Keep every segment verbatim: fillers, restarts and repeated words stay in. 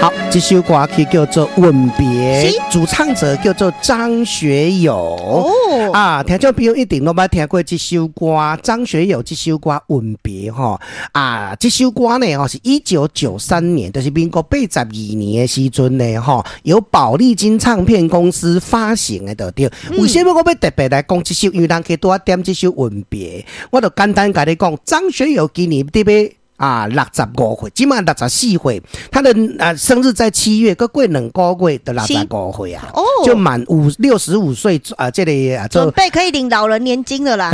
好，這首歌曲叫做《吻別》，是，主唱者叫做張學友。哦，啊，聽眾朋友一定攏捌聽過這首歌，張學友這首歌《吻別》吼。啊，這首歌呢，吼是一九九三年，就是民國八十二年的時陣呢，吼，由寶麗金唱片公司發行的就對。為什麼我欲特別來講這首？因為人家拄仔點這首《吻別》，我就簡單共你講，張學友今年佇欲啊，六十五歲，這馬六十四歲，他的啊生日在七月，閣過兩個月就六十五歲啊，哦，就滿五六十五歲啊，這個啊，準備可以領老人年金了啦。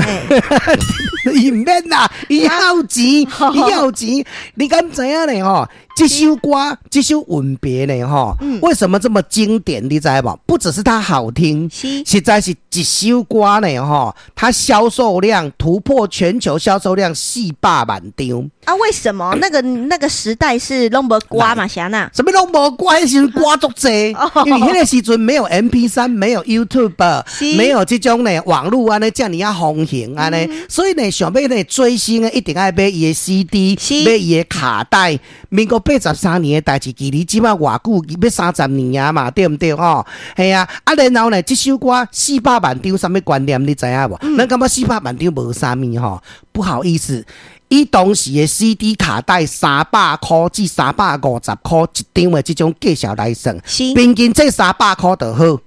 伊毋免啦，伊有錢，伊有錢，你敢知影呢？吼，這首歌，這首吻別呢？吼，為什麼這麼經典？你知無？不只是它好聽，實在是一首歌呢？吼，它銷售量突破全球銷售量四百萬張。啊？為什麼？那個那個時代是攏無歌嘛？啥呢？啥物攏無歌？彼時陣歌足濟，因為彼個時陣沒有 M P 三，沒有 YouTube，沒有這種呢網路按呢遮爾仔風行按呢，所以呢，想欲呢追星的一定愛買伊的 C D，買伊的卡帶。民國八十三年的代誌，距離這馬偌久，欲三十年啊嘛，對毋對吼？係啊，啊然後呢，這首歌四百萬張，啥物觀念你知影無？咱感覺四百萬張無啥物吼，不好意思。以當時的 C D 卡帶三百箍至三百五十箍一張的這種價數來算，平均這三百箍就好，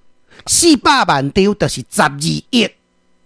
四百萬張就是十二億。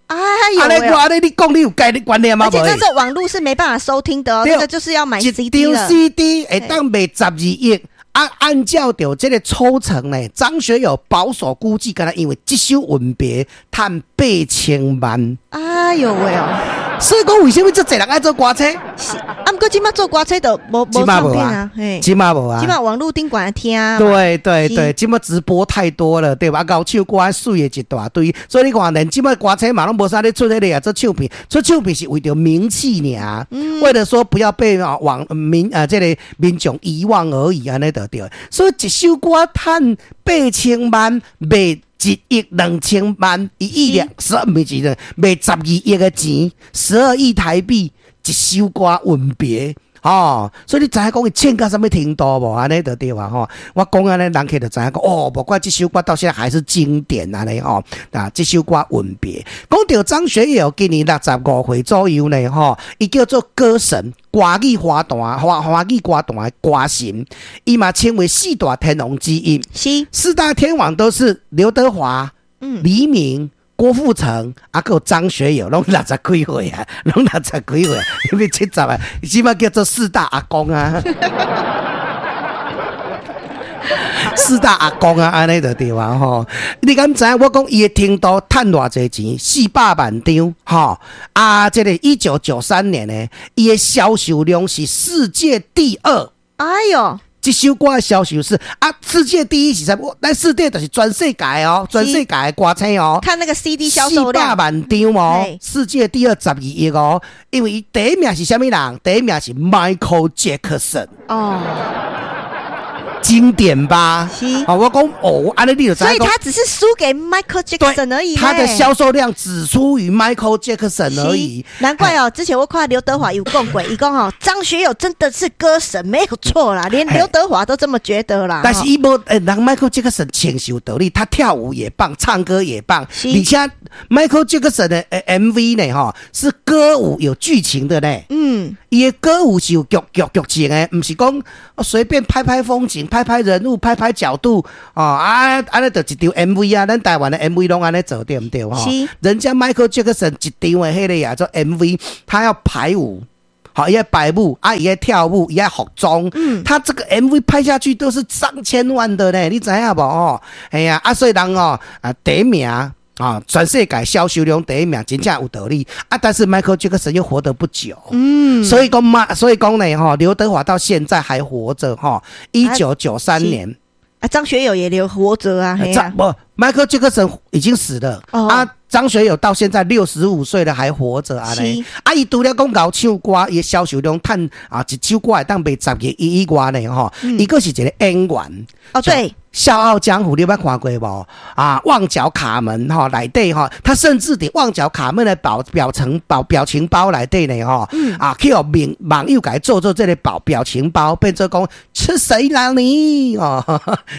哎呦！按呢我按呢你講你有概念觀念嗎？而且那時候網路是沒辦法收聽的哦，這個就是要買 C D 一張 C D 會當賣十二億。啊，按照著這個抽成呢，張學友保守估計，敢若因為這首吻別趁八千萬。哎呦喂哦！所以講，為啥物遮濟人愛做歌星？是，啊，毋過這馬做歌星就無無唱片啊，嘿，這馬無啊，這馬網路頂懸聽。對對對，這馬直播太多了，對吧？𠢕唱歌媠的一大堆，所以你看，連這馬歌星嘛攏無啥咧出彼個啊，做唱片，出唱片是為著名氣爾，為了說不要被啊網民啊這個民眾遺忘而已，按呢就對。所以一首歌趁八千萬賣一億兩千萬，一億兩十二毋是賣十二億的錢，十二億台幣一首歌吻別，吼，所以你知影講伊唱到啥物程度無？按呢就對啊吼。我講按呢，人客就知影講哦，無怪這首歌到現在還是經典按呢吼。啊，這首歌吻別，講著張學友今年六十五歲左右呢吼，伊叫做歌神，華語華壇華華語歌壇的歌神，伊嘛稱為四大天王之一。是四大天王都是劉德華、嗯黎明、郭富城，啊，閣有張學友，攏六十幾歲啊，攏六十幾歲，因為七十啊，這馬叫做四大阿公啊。四大阿公啊，按呢就對啊吼。你敢知影？我講伊的程度趁偌濟錢，四百萬張吼。啊，這個一九九三年呢，伊的銷售量是世界第二。哎喲，這首歌的銷售是啊，世界第一是啥物？咱世界就是全世界哦，全世界的歌星哦。看那個 C D 銷售量，四百萬張哦，世界第二十二億哦。因為伊第一名是啥物人？第一名是 Michael Jackson。哦。經典吧？是。哦，我講哦，按呢你就所以他只是輸給 Michael Jackson 而已。他的銷售量只輸於 Michael Jackson 而已。難怪哦，之前我看劉德華有講過，伊講哦，張學友真的是歌神，沒有錯啦，連劉德華都這麼覺得啦。但是伊無，欸，人 Michael Jackson 唱是有道理，他跳舞也棒，唱歌也棒，而且 Michael Jackson 的 M V 呢，吼，是歌舞有劇情的呢。嗯，伊的歌舞是有劇劇劇情的，毋是講隨便拍拍風景、拍拍人物、拍拍角度哦，啊，按呢就一張 M V 啊，咱台灣的 M V 攏按呢做對毋對？吼，人家 Michael Jackson 一張的彼個呀做 M V，他要排舞，好，伊愛排舞，啊，伊愛跳舞，伊愛服裝，嗯，他這個 M V 拍下去都是上千萬的呢，你知影無？哦，係啊，啊，所以人哦，啊，第一名啊，全世界銷售量第一名，真正有道理啊。但是 Michael Jackson 又活得不久，嗯，所以講嘛，所以講呢，吼，劉德華到現在還活着，吼，一九九三年啊，張學友也留活着啊，張無迈克爾傑克遜已經死了。哦。啊，張學友到現在六十五歲了還活著按呢。是。啊，伊除了講𠢕唱歌，伊的銷售量趁啊，一首歌會當賣十億以外呢吼。伊閣是一個演員。哦，對。笑傲江湖你有捌看過無？啊，旺角卡門吼內底吼，他甚至佇旺角卡門的表表層表表情包內底呢吼，啊，去予網網友共伊做做這个表表情包，變做講吃誰啦你哦，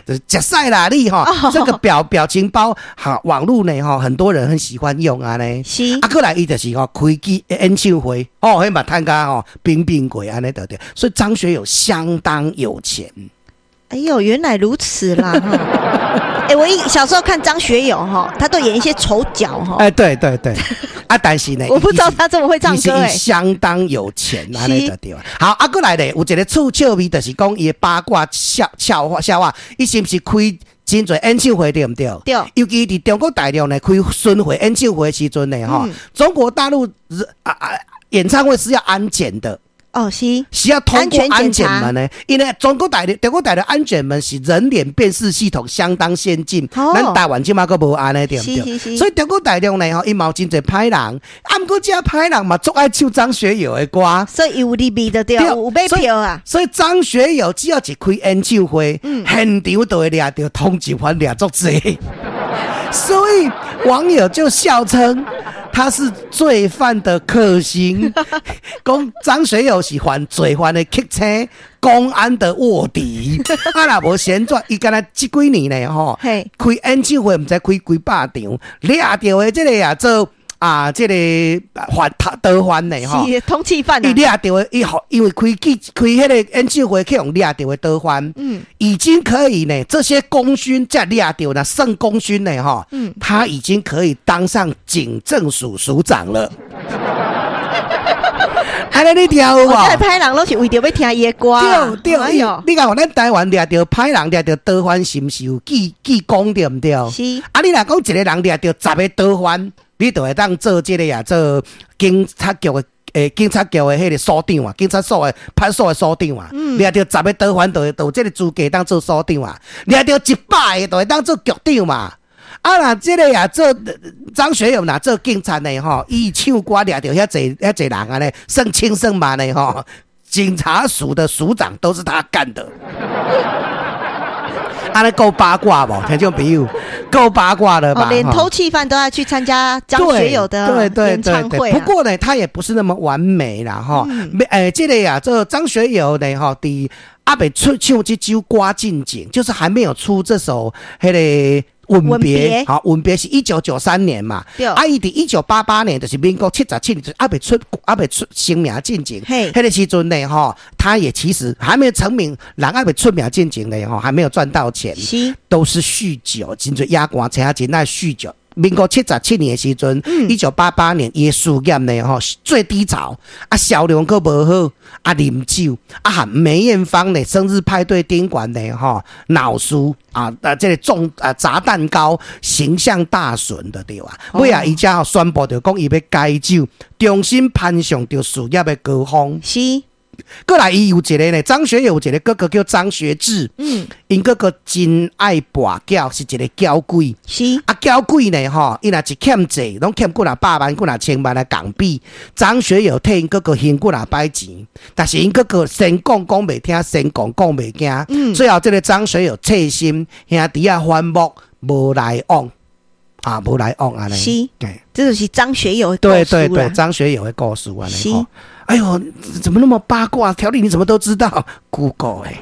就是食屎啦你吼，這個表表情包哈，網路呢吼，很多人很喜歡用按呢。是。啊，過來伊就是吼開機演唱會，哦，彼嘛趁甲吼冰冰過按呢對對，所以張學友相當有錢。哎呦，原來如此啦！哎，我一小時候看張學友哈，他都演一些丑角哈。哎，對對對，啊，但是呢，我不知道他這麼會唱歌哎。相當有錢，按呢就對。好，啊，過來咧，有一個趣笑味，就是講伊的八卦笑笑話笑話，伊是毋是開真濟演唱會對毋對？對。尤其佇中國大陸呢，開巡迴演唱會的時陣呢，吼，中國大陸啊啊，演唱會是要安檢的。哦，是。是要通過安檢門呢，因為中國大陸、中國大陸安檢門是人臉辨識系統相當先進，咱台灣這馬閣無按呢，對毋對？所以中國大陸呢，吼，伊嘛有真濟歹人，啊，毋過這歹人嘛，足愛唱張學友的歌，所以有入味就對，有買票啊。所以張學友只要一開演唱會，現場就會掠著通緝犯掠足濟，所以網友就笑稱他是罪犯的克星，講張學友是犯罪犯的克星，公安的臥底。啊，若無閒傳，伊敢若這幾年呢，吼，開演唱會毋知開幾百場，掠著的這个啊做啊，這个犯逃犯呢，吼，是通緝犯。伊掠著的，伊因為開記開彼个演唱會去予掠著的逃犯，嗯，已經可以呢，這些功勳才掠著啦，算功勳呢，吼，嗯，他已經可以當上警政署署長了。按呢你聽有無？這歹人攏是為著欲聽伊的歌。對對，你講咱台灣掠著歹人掠著逃犯，是毋是有記記功對毋對？是。啊，你若講一個人掠著十个逃犯，你就會當做這个啊，做警察局的欸，警察局的彼个所長啊，警察所的派出所的所長啊，掠著十个逃犯，就會有這个資格當做所長啊，掠著一百个，就會當做局長嘛。啊，若這个啊做張學友若做警察的吼，伊唱歌掠著遐濟遐濟人按呢，算千算萬的吼，警察署的署長都是他幹的。按呢夠八卦無？聽眾朋友，夠八卦了吧？連通緝犯都要去參加張學友的演唱會。不過呢，他也不是那麼完美啦，吼。欸，這个啊，這張學友呢，吼，佇猶未出唱這首歌進前，就是還沒有出這首彼个。吻別，好，吻別是一九九三年嘛，啊，伊佇一九八八年，就是民國七十七年，猶未出，猶未出成名進前，彼个時陣呢，吼，他也其實還沒成名，人猶未出名進前呢，吼，還沒有賺到錢，是，都是酗酒，真濟野歌星真愛酗酒。民國七十七年的時陣，一九八八年，伊的事業呢，吼，最低潮，啊，銷量閣無好，啊，啉酒，啊，和梅艷芳呢，生日派對賓館呢，吼，鬧事啊，啊，這个重啊砸蛋糕，形象大損的對吧？尾仔伊才宣布著講伊欲戒酒，重新攀上著事業的高峰。是。過來，伊有一个呢，張學友有一個哥哥叫張學智，嗯，𪜶哥哥真愛跋筊，是一个嬌鬼，是啊，嬌鬼呢，吼，伊若一欠債，攏欠幾若百萬、幾若千萬的港幣。張學友替𪜶哥哥還幾若擺錢，但是𪜶哥哥先講講袂聽，先講講袂驚，嗯，最後這个張學友切心兄弟仔反目，無來往，啊，無來往按呢。是，對，這就是張學友的對對對，張學友的故事按呢。哎呦，怎麼那麼八卦？條理你怎麼都知道？Google 欸，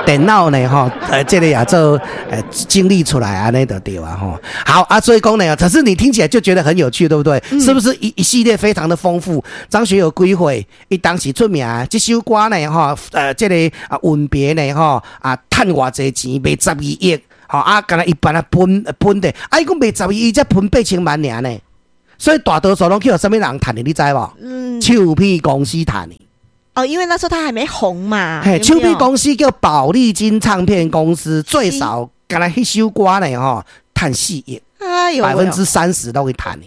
電腦呢？吼，呃，這個也做呃整理出來按呢就對啊，吼。好啊，所以講呢，可是你聽起來就覺得很有趣，對不對？嗯、是不是一一系列非常的豐富？張學友幾歲？伊當時出名，這首歌呢，吼，呃，這個啊吻別呢，吼，啊，趁偌濟錢賣十二億，吼啊，敢若一般啊分分的，啊，伊講賣十二億才分八千萬爾呢。所以大多數攏去予啥物人趁的，你知無？嗯，唱片公司趁的。哦，因為那時候他還沒紅嘛。嘿，唱片公司叫寶麗金唱片公司，最少敢若彼首歌呢，吼，趁四億，哎呦，百分之三十都會趁的。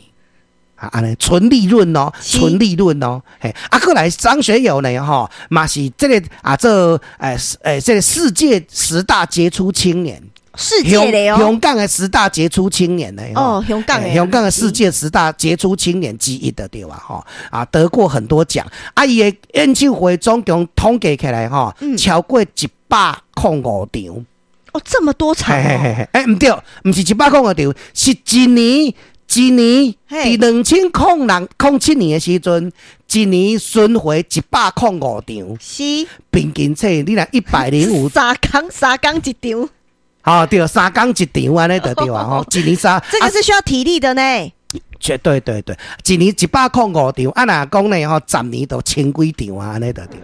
啊，按呢純利潤哦，純利潤哦。嘿，啊，過來張學友呢，吼，嘛是這个啊，這欸欸，這个世界十大傑出青年。世界的哦，香港的十大傑出青年呢。哦，香港的，香港的世界十大傑出青年之一的對吧？吼啊，得過很多獎。啊，伊的演唱會總共統計起來吼，超過一百空五場。哦，這麼多場。嘿嘿嘿，欸，毋對，毋是一百空五場，是一年一年，佇兩千空六空七年的時陣，一年巡迴一百空五場。是，平均說，你若一百零五，三工三工一場。吼，對，三工一場按呢就對啊，吼，一年三，這個是需要體力的呢。絕對對對，一年一百空五場，啊若講呢吼，十年就千幾場啊，按呢就對。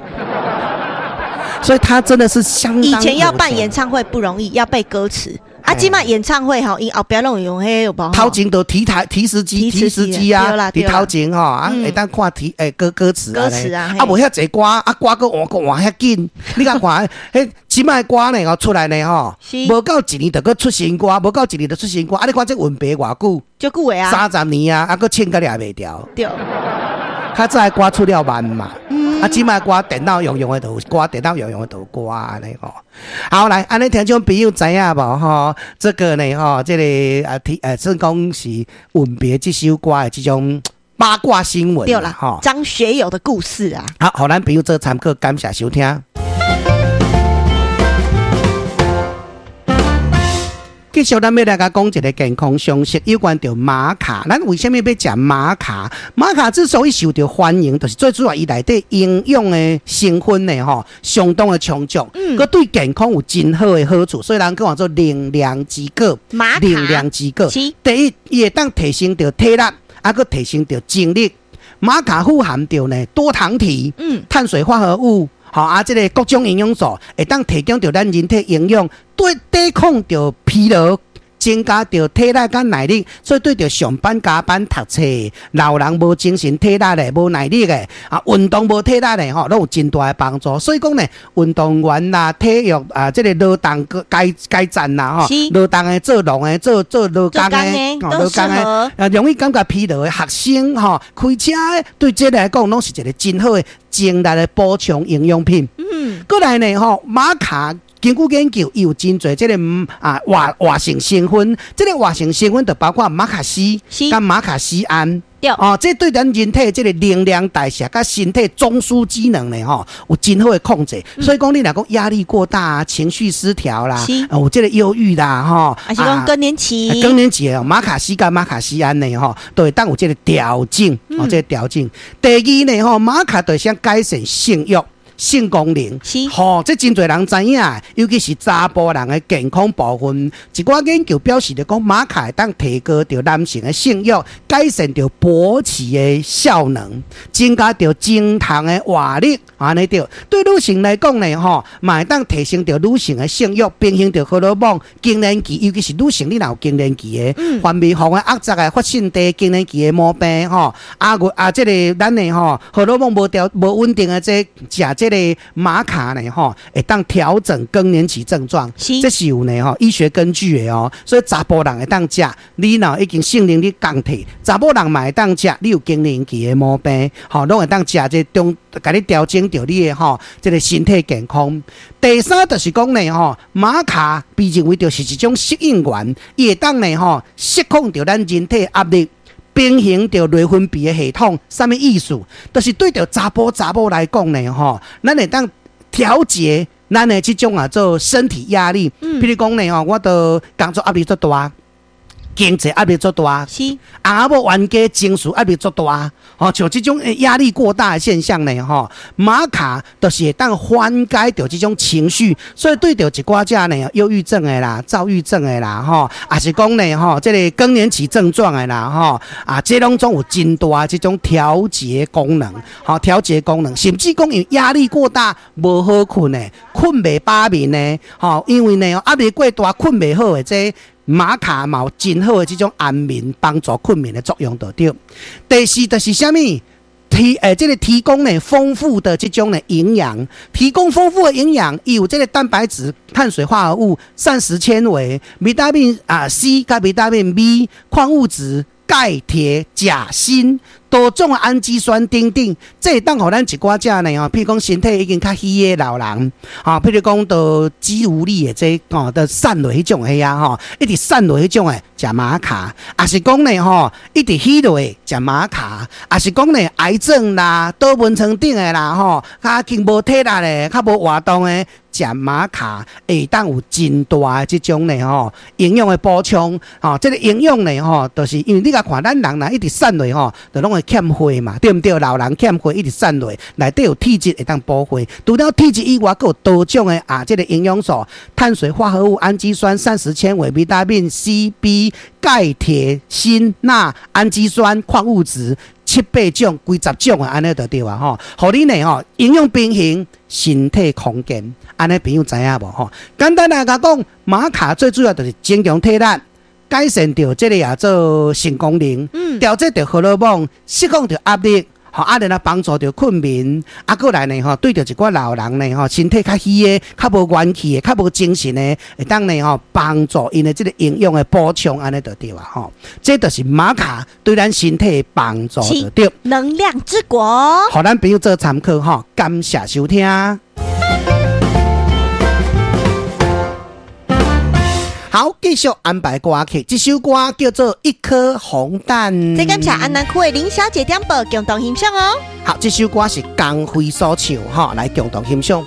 所以他真的是相當。以前要辦演唱會不容易，要背歌詞。啊，這擺演唱會吼，𪜶後壁攏用彼個無？頭前都提台提詞機、提詞機啊，佇頭前吼啊，會當看提欸歌歌詞歌詞啊，啊無遐濟歌，啊歌閣換閣換遐緊，你敢看？彼這擺歌呢吼出來呢吼，無夠一年就閣出新歌，無夠一年就出新歌，啊你看這吻別偌久？足久的啊，三十年啊，啊閣唱甲掠袂掉。對，較早的歌出了慢嘛。啊，這擺歌電腦用用的就有歌，電腦用用的就有歌按呢吼。好來，按呢聽眾朋友知影無吼？這個呢吼，這個啊提呃，算講是吻別這首歌的這種八卦新聞。對啦，吼，張學友的故事啊。好，予咱朋友做參考，感謝收聽。繼續，咱欲來共講一个健康常識，有關著瑪卡。咱為啥物欲食瑪卡？瑪卡之所以受著歡迎，就是最主要伊內底營養的成分呢，吼，相當的充足，閣對健康有真好的好處。所以人講做能量之果，能量之果。第一，伊會當提升著體力，啊，閣提升著精力。瑪卡富含著呢多糖體，嗯，碳水化合物。吼啊，這个各種營養素會當提供著咱人體營養，對抵抗著疲勞，增加著體力佮耐力，所以對著上班加班讀冊老人無精神體力的、無耐力的啊，運動無體力的吼，攏有真大的幫助。所以講呢，運動員啦、體育啊，這个勞動階階層啦吼，勞動的、做農的、做做勞工的、勞工的，啊，容易感覺疲勞的學生吼，開車的，對這個來講，攏是一個真好的精力的補充營養品。嗯，過來呢吼，瑪卡。根據研究，伊有真濟這个啊活活性成分，這个活性成分就包括瑪卡烯佮瑪卡醯胺。對哦，這對咱人體這个能量代謝佮身體中樞機能呢，吼，有真好的控制。嗯、所以講，你若講壓力過大啊，情緒失調啦，有這个憂鬱啦，吼，還是講更年期，更年期哦，瑪卡烯佮瑪卡醯胺呢，吼，都會當有這个調整，哦，這個調整。第二呢，吼，瑪卡就會改善性慾。性功能，吼，這真濟人知影，尤其是查埔人的健康部分。一寡研究表示著講，瑪卡會當提高著男性的性慾，改善著勃起的效能，增加著精蟲的活力，按呢對。對女性來講呢，吼，嘛會當提升著女性的性慾，平衡著荷爾蒙、更年期，尤其是女性你若有更年期的，分泌房的壓雜的發性低更年期的毛病，吼，啊啊，這个咱的吼荷爾蒙無調無穩定的這食這個。瑪卡呢，吼，會當調整更年期症狀，這是有呢，吼，醫學根據的哦。所以查埔人會當食，你若已經性能力降低，查某人嘛會當食，你有更年期的毛病，吼，攏會當食這中，共你調整著你的吼，這个身體健康。第三就是講呢，吼，瑪卡被認為就是一種適應原，伊會當呢，吼，釋放著咱人體壓力。平衡著內分泌的系統，啥物意思？就是對著查埔查某來講呢，吼，咱會當調節咱的這種啊做身體壓力。嗯、譬如講呢，吼，我都工作壓力足大，經濟壓力足大，是翁仔某冤家情緒壓力足大，吼，像這種壓力過大的現象呢，吼，瑪卡就是會當緩解著這種情緒，所以對著一寡遮呢，憂鬱症的啦、躁鬱症的啦，吼，也是講呢，吼，這个更年期症狀的啦，吼，啊，這攏總有真大這種調節功能，吼，調節功能，甚至講因為壓力過大無好睏的，睏袂飽眠的，吼，因為呢壓力過大睏袂好的這個。瑪卡嘛有真好的這種安眠、幫助睏眠的作用，就對。第四就是啥物？提欸，這个提供呢豐富的這種呢營養，提供豐富的營養，伊有這个蛋白質、碳水化合物、膳食纖維、維他命啊 C 佮維他命 B、礦物質。钙、鐵、鉀、鋅，多種的氨基酸等等，這會當予咱一寡遮呢吼，譬如講身體已經較虛的老人，吼，譬如講都肌無力的這吼，都瘦落彼種的啊吼，一直瘦落彼種的，食瑪卡，抑是講呢吼，一直虛落食瑪卡，抑是講呢癌症啦，倒溫床頂的啦吼，較經無體力的，較無活動的，食瑪卡會當有真大的這種呢吼營養的補充，吼，這個營養呢吼，就是因為你共看咱人若一直瘦落吼，就攏會欠血嘛，對毋對？老人欠血一直瘦落，內底有鐵質會當補血。除了鐵質以外，閣有多種的啊，這個營養素、碳水化合物、氨基酸、膳食纖維、維他命 C、B、鈣、鐵、鋅、鈉、氨基酸、礦物質，七八種、幾十種啊，按呢就對啊吼。予你呢吼，營養平衡，身體康健，按呢朋友知影無吼？簡單來講，瑪卡最主要就是增強體力，改善著這個也做性功能，調節著荷爾蒙，釋放著壓力，吼啊，然後幫助著睏眠，啊，閣來呢吼，對著一寡老人呢吼，身體較虛的、較無元氣的、較無精神的，會當呢吼幫助𪜶的這個營養的補充，按呢就對啊吼。這就是瑪卡對咱身體的幫助就對。能量之國，予咱朋友做參考吼，感謝收聽。好，繼續安排歌曲，這首歌叫做《一顆紅蛋》。這感謝安南區的林小姐點播，共同欣賞哦。好，這首歌是江輝所唱，哈，來共同欣賞。